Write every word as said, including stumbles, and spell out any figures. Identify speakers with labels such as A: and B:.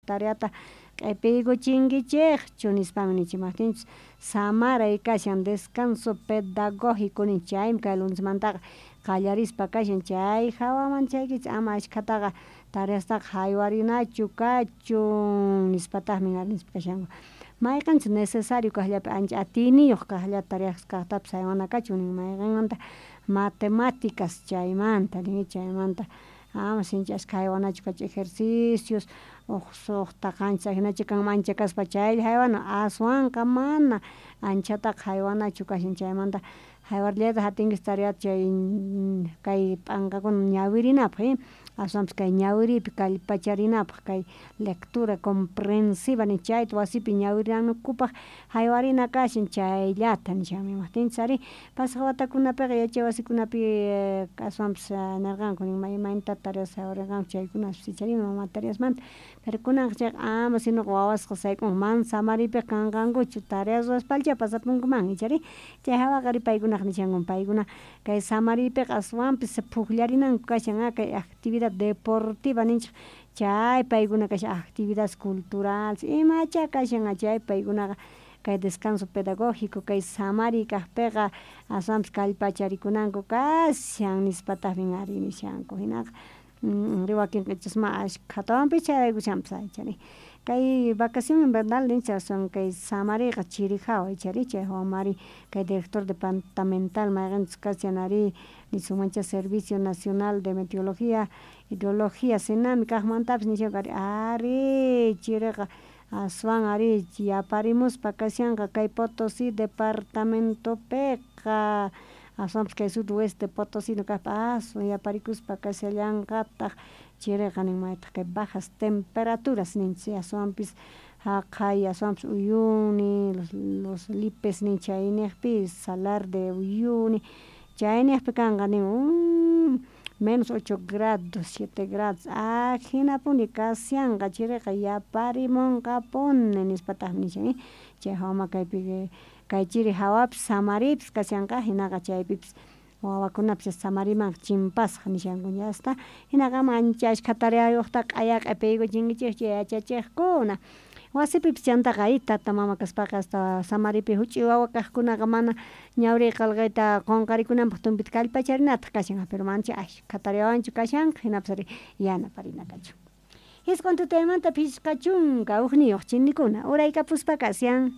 A: Tareata q'epiykuchinkichejchu nispamin nichimajtinchus samaray kashan descanso pedagógico nin chaymi kay lunesmantaqa qallarispa kashan chay jawaman chaykichis ama ashkhataqa tareastaqa haywarinachu kachun nispataqmi ari nispa kashanku mayqinchus necesario kaqllapi ancha atiyniyuq kaqllata tareas kaqtapis haywana kachun nin mayqinmanta matemáticas chaymanta nin chaymanta ama sinchi ashkha haywanachu kachun ejercicios uj suqta qanchis ajinacha kanman ancha kaspa chaylla haywana aswanqa mana anchataqa haywanachu kashan chaymanta haywarillayta atinkichis tareata chay kay p'anqakuna ñawirinapaq aswanpis kay ñawiriypi kallpacharinapaq kay lectura comprensiva nin chayta wasipi ñawirinankupaq haywarina kashan chayllata nishanmi imajtinchus ari pasaq watakunapiqa yachay wasikunapi aswanpis nerqanku imaynata tareas haywarirqanku chaykunapis ichari ima materiasmanta pero kunanqa chayqa ama sinoqa wawasqa sayk'unqa mana samariypiqa kanqankuchu tareas ruwaspallcha pasapunkuman ichari chay jawaqa ari paykunaqa nishanku paykuna kay samariypiqa aswanpis pukllarinanku kashan kay actividad deportiva ninchik chay paykuna kashan actividades culturales imacha kashan chay paykunaqa kay descanso pedagógico kay samariy kaqpiqa aswanpis kallpacharikunanku kashan nispataqmi ari nishanku hinaqa wakinqa ichas ma ashkhatawanpis chayraykushanpis ichari kay vacación invernal ninchik aswan kay samariyqa chiri hawa ichari chay hawamari kay director departamental mayqinchus kashan ari nisunmancha Servicio Nacional de Meteorología Hidrología Senami kaqmantapis nishanku ari ari chiriqa aswan ari yaparimuspa kashanqa kay Potosí departamentopiqa aswanpis kay sudoeste potosino kaqpi aswan yaparikuspa kashallanqataq chiriqa nin maytaq kay bajas temperaturas ninchik aswanpis haqay aswanpis Uyuni los, los Lipes nin chayniqpi Salar de Uyuni chayniqpi kanqa nin menos ocho grados siete grados ajinapuni kashanqa chiriqa yaparimunqapuni nispataqmi nishan chay hawama kaypi kay chiri hawapis samariypis kashanqa hinaqa chaypipis wawakunapis samarimanqa chimpasqa nishanku ya está hinaqa ama ancha ashkha tareayuqtaqa q'aya q'ipiykuchinkichikchu yachachiqkuna wasipipis chantaqa ay tata mama kaspaqa hasta samaripi huch'uy wawa kaqkunaqa mana ñawriy qillqayta qunqarikunanpaq tumpita kallpacharinataq kashan pero mancha ashkha tareawanchu kashanqa hinapis ari yanaparina kachun Isqun tutaymanta phisqa chunka hukniyuq chinikuna uraykapuspa kashan.